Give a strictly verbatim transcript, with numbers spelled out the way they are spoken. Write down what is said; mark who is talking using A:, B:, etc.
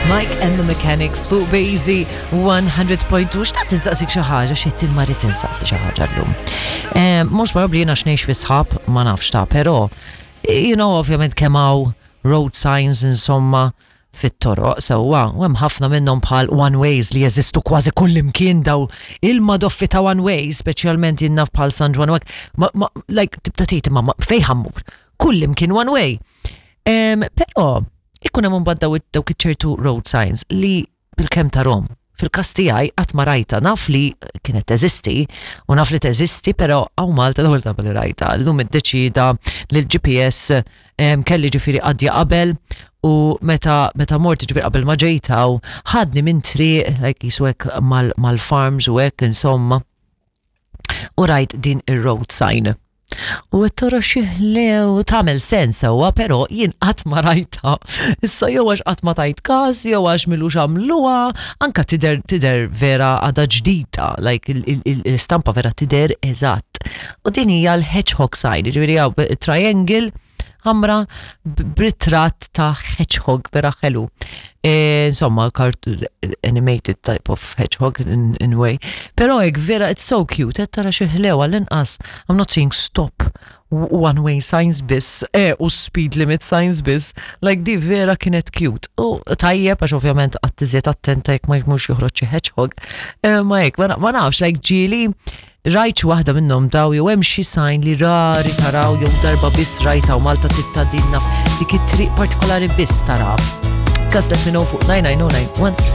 A: Mike and the Mechanics fuq Basie one hundred point two. Xtaqt insaqsik xi ħaġa, xi imma rrid insaqsi xi ħaġa llum. Eh, Mhux probabbli jiena x'ngħix fi sħab, ma nafx ta', però you know ovvjament kemm hawn road signs insomma fit-toroq sewwa, u hemm ħafna minnhom bħal one ways li jeżistu kważi kull imkien, daw il-madoffi ta' one ways, speċjalment jien naf bħal San Ġwann u hekk, ma, ma, like tibda tgħid, imma ma- fejn ħa mmur? Kull imkien one way. Em, Però ikun hemm imbagħad daw dawk iċ-ċertu road signs li bilkemm tarahom. Fil-każ tiegħi qatt ma rajta, naf li kienet teżisti u naf li teżisti, però hawn Malta l-ewwel darba li rajta. Llum iddeċida li l-G P S em, kelli ġifieri għaddja qabel u meta meta mort, ġifieri qabel ma ġejtaw, ħadni minn triq like jisu hekk mal- mal-farms u hekk insomma. U rajt din ir-road sign. U t-toro xiħlew tagħmel sens sewwa, però jien qatt ma rajta. Issa jew għax qatt ma tajt każ, jew għax m'ilux għamluha, anka tidher tidher vera għadha ġdida, like il-stampa vera tidher eżatt. U din hija l-hedgehog sign, ġifieri hawn triangle ħamra b'ritratt ta' hedgehog vera ħelu. E, insomma, cart- animated type of hedgehog in, in way. Però hekk vera, it's so cute, qed tara xi ħlew għall-inqas. I'm not saying stop one way signs biss, eh, u speed limit signs biss. Like di vera kienet cute. U tajjeb għax ovvjament qatt iżjed attenta jekk ma jmurx joħroġ xi hedgehog. Eh, ma hekk, ma ma nafx, like ġieli rajt xi waħda minnhom daw jew hemm xi sign li rari taraw jew darba biss rajta u Malta titta din naf dik it-triq partikolari biss tara. Kas let me know fuq nine nine zero nine one.